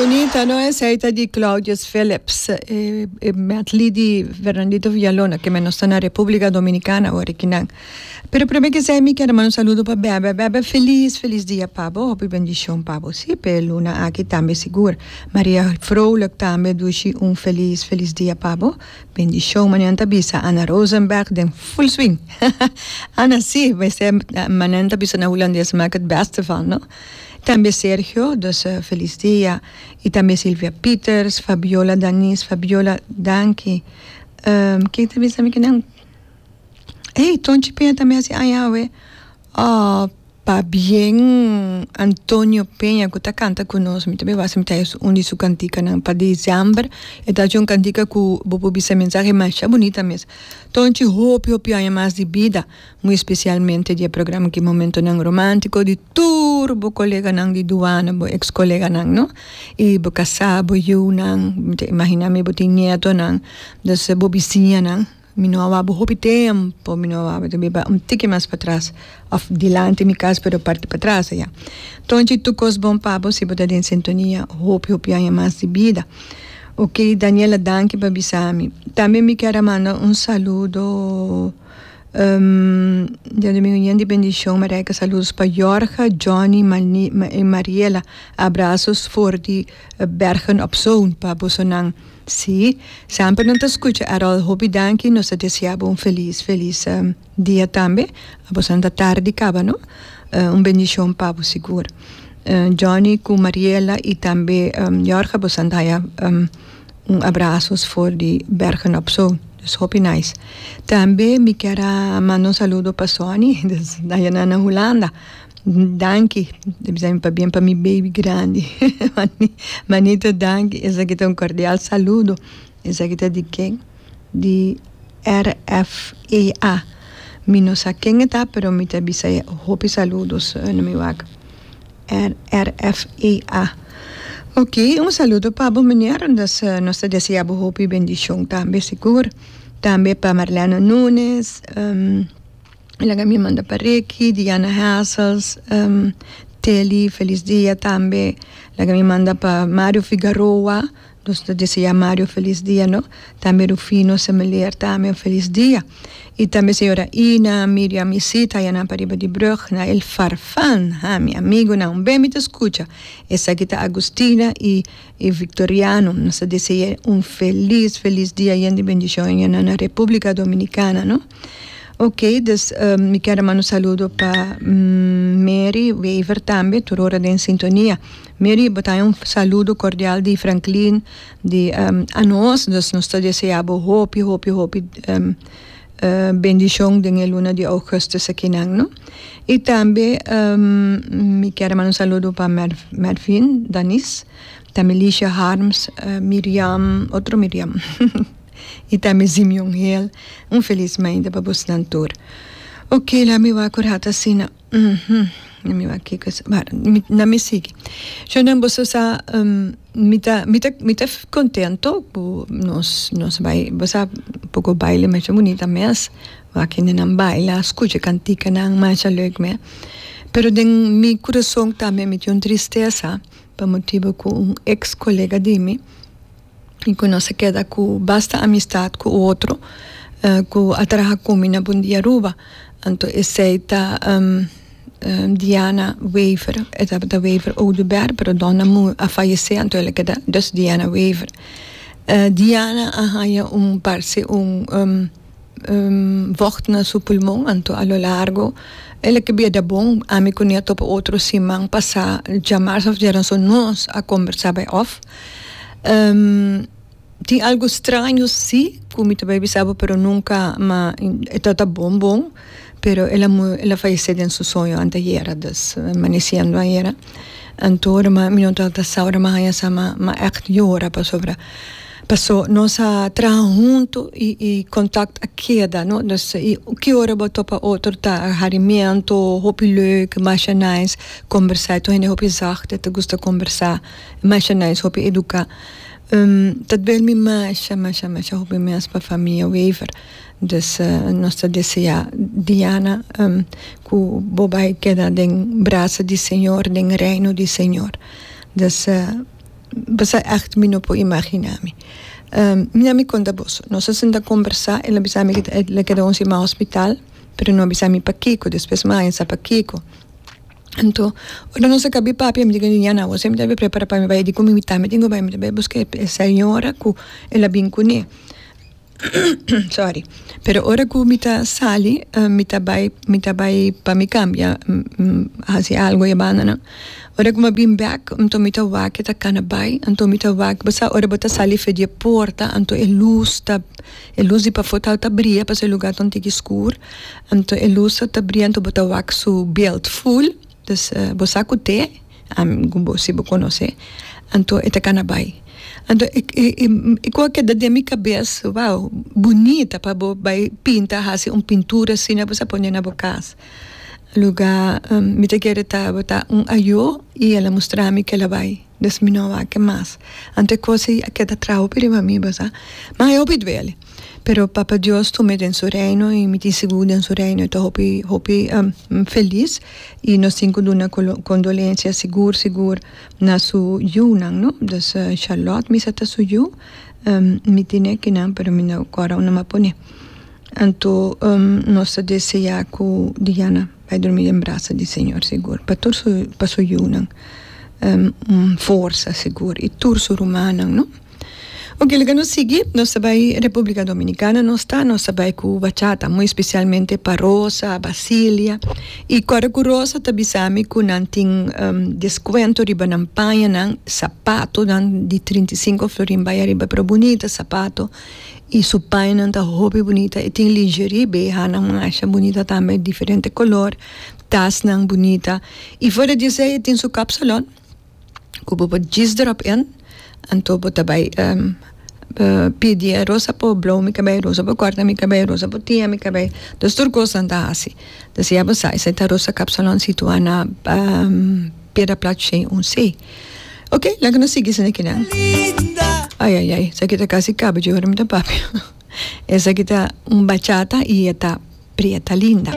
Bunita no esey ta di Claudius Phillips e medley di Fernandito Villalona ke men nos ta na Republica Dominicana awor akinan. Pero prome ke esey mi kier manda un saludo pa Bebe. Bebe felis felis dia pa bo hopi bendicion pa bo si p'e luna aki tambe sigur. Maria Vrolijk tambe dushi un felis felis dia pa bo. Bendicion mañana ta bisa Anna Rosenberg den full swing. Anna si mester mañana ta bisa na Hulandes maak het beste van no. Tambe Sergio dus felis dia y tambe Silvia Pieters, Fabiola Danis, Fabiola danki ken ta bisa mi kinan ey Tonchi Peña tambe haci aña awe oh pabien Antonio Peña cu ta canta cu nos mi ta bay wak si mi ta haci un di su canticanan pa december e ta haci un cantica cu bo por bisa mensahe masha bunita mes Tonchi hopi hopi aña mas di bida. Muy especialmente di e programa ki Momentonan Romantico di tur bo coleganan di duana, bo ex coleganan no, y bo casa, bo yiunan, mi ta imagina mi bo tin nietonan, dus bo bisiñanan, mi no a wak bo hopi tempo, mi no a wak bo, ta biba un tiki mas patras of dilanti mi cas pero parti patras aya. Tonchi tur cos bon pa bo si bo ta den sintonia hopi hopi aña mas di bida. Ok Daniela danki pa bisa mi. Tambe mi kier a manda un saludo. Diadomingo yen di bendicion Marijke saludos pa Jorge, Johnny, y Mariela abrazos for di Bergen op Zoom pa bosonan si semper nan ta scucha Errol hopi danki nos ta desea bo un feliz feliz dia tambe abosonan ta tardi caba no un bendicion pa bo sigur Johnny cu Mariela y tambe Jorge bosonan ta haya. Un abrazos for di Bergen op Zoom. Dus hopi nice. Tambe mi kier a manda un saludo pa Sonny, dus aya na na Hulanda. Danki, ta bisa mi pabien pa mi baby grandi. Manito danki, esaki ta un cordial saludo. Esaki ta di ken? Di RFEA. Mi no sa ken e ta, pero mi ta bisa e hopi saludos na mi wak. RFEA. Ok, un saludo pa bo meneer, dus nos ta desea bo hopi bendicion tambe sigur. Tambe pa Marlene Nunes, laga mi manda pa Ricky, Diana Hassels, Telly, feliz dia tambe. Laga mi manda pa Mario Figaroa. Nos ta desea Mario felis dia no. Tambe Rufino Semeleer tambe un felis dia. Y tambe señora Ina, Miriam y Sita ya nan pariba di brug na el Farfan. Ha, mi amigonan un be mi ta scucha. Esaki ta Agustina y y Victoriano. Nos ta desea un felis felis dia yen di bendicion ya nan na Republica Dominicana no. Ok, dus mi kier a manda un saludo pa Mary Wever tambe tur ora den sintonia. Mary, bo ta haña un saludo cordial di Franklin, di anos, dus nos ta desea bo hopi, hopi, hopi bendicion den e luna di augustus akinan, no? Y tambe mi kier a manda un saludo pa Mervin Danis, tambe Licia Harms, Miriam, otro Miriam, y tambe Simeon Hill, un feliz mainta pa bosnan tur. Ok, laat mi wak ora ta asina. Na mi wak kiko es, maar na mi sigui. Shonnan boso sa mi ta mi ta mi ta contento ku nos nos bai bo sa poko baile masha bunita mes wak hendenan baila skucha kantikanan masha leuk me pero den mi kurason tambe mi tin un tristesa pa motibu ku un ex kolega di mi. Y cu nos a keda cu basta amistad cu otro cu a traha cu mi na Bon Dia Aruba. Anto esey ta Diana Wever, e tabata Wever Oduber, pero Donna a fayece anto el a keda dus Diana Wever. Diana a haya un parce un vocht na su pulmon anto a lo largo el a ke bira bon. Ami cu ne a topa otro siman pasa djamars of djaranson nos a combersa bay of. Tin algo straño si cu mi ta bay bisa bo pero nunca ma e ta bon bon pero el a el a fayece den su soño anteayera dus amaneciendo ayera anto ora mi no tabata sa ora mi a haya sa mi a echt yora pasobra paso nos a traha hunto y y contact a keda no dus y ki ora bo topa otro ta harimiento hopi leuk masha nice combersa tur hende hopi zacht e ta gusta combersa. Masha nice hopi educa. Ta duel mi masha masha masha hopi mes pa famia Wever. Dus nos ta desea Diana cu bo bay keda den brasa di Señor, den reino di Señor. Dus. Bo sa ègt mi no por imaginá mi. Mi a mi konta boso, nos a sinta kombersá, el a bisa mi ku el a keda un siman hospital, pero no a bisa mi pakiko, despues mi a haña sa pakiko. Anto, ora nos a kabi papia, mi di ku Diana, awor si mi ta prepara pa mi bai, e di ku mi tambe tin ku bai, mi ta bai buska e señora ku el a bin kuné. Sorry. Pero ora ku mi ta sali, mi ta bai, mi ta bai pa mi kambia, hasi algo e bandanan. Ora ku mi a bin bek, anto mi ta wak e ta kana bai, anto mi ta wak, bo sa ora bo ta sali for di e porta, anto e lus ta, e lus di pafó ta ta bria pasobra e lugar ta un tiki skur, anto e lus ta ta bria anto bo ta wak su beeld ful, dus bo sa ku te. Ami ku bo si bo konosé. Anto e ta kana bai. Anto e e e ku a keda den mi kabes, wow, bunita pa bo bai pinta hasi un pintura asina bo sa pone na bo kas. Lugá mi ta kere tabata un ayó i el a mustra mi ke el a bai. Des mi no a wak mas. Anto e kos ei a keda traha hopi riba mi, bo sa. Ma e hopi duele. Pero Papa Dios tum'e den su reino i mi tin sigur den su reino e ta hopi hopi felis i nos tin ku duna kondolensia sigur sigur na su yunan no. Dus Charlotte mi sa ta su yu mi tene kinan pero mi no kòrda unda mi a pone. Anto nos ta desea ku Diana bai drumi den brasa di Señor sigur pa tur su pa su yunan un forsa sigur i tur su rumannan no. Ok, laga nos sigui. Nos ta bai Republica Dominicana nos ta, nos ta bai ku bachata, muy especialmente pa Rosa, Basilia. I kòrda ku Rosa ta bisa mi ku nan tin deskuento riba nan pañanan, sapatonan di 35 florin bai ariba, pero bunita sapato. I su pañanan ta hopi bunita. E tin lingerie, behanan masha bunita tambe, diferente kolor, tasnan bunita. I fuera di esei e tin su kapsalon. Ku bo por djis drop in, anto bo ta bai pidi e Rosa por blow mi kabei, Rosa por kòrta mi kabei, Rosa por tiña mi kabei. Dus tur kos nan ta hasi. Dus ya bo sa, esei ta Rosa Kapsalon situá na Piedra Plat shen un C. Ok, laga nos sigui esaki nan. Ai ai ai, esaki ta kasi kaba dje ora mi ta papia. Esaki ta un bachata i e ta Prieta Linda.